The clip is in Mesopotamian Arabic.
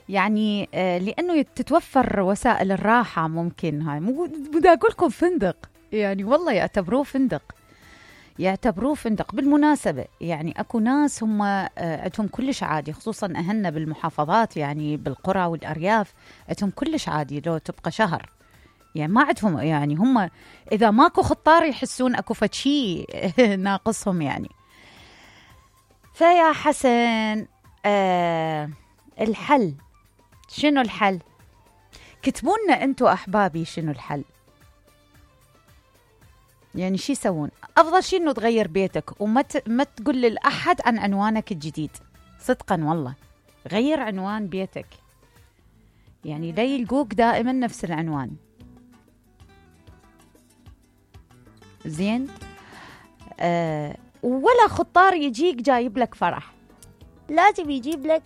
يعني لأنه تتوفر وسائل الراحة، ممكن هاي مو بدي أقول لكم فندق، يعني والله يعتبروه فندق. بالمناسبة يعني أكو ناس هم عندهم كلش عادي، خصوصا أهلنا بالمحافظات، يعني بالقرى والأرياف عندهم كلش عادي لو تبقى شهر، يعني ما عندهم، يعني هم إذا ماكو خطار يحسون أكو فشي ناقصهم يعني. فيا حسن الحل شنو؟ الحل كتبوا لنا انتو أحبابي، شنو الحل؟ يعني شي يسوون؟ أفضل شي إنه تغير بيتك ما تقول لأحد عن عنوانك الجديد، صدقا والله غير عنوان بيتك، يعني لا يلقوك دائما نفس العنوان. زين. ولا خطار يجيك جايب لك فرح، لازم يجيب لك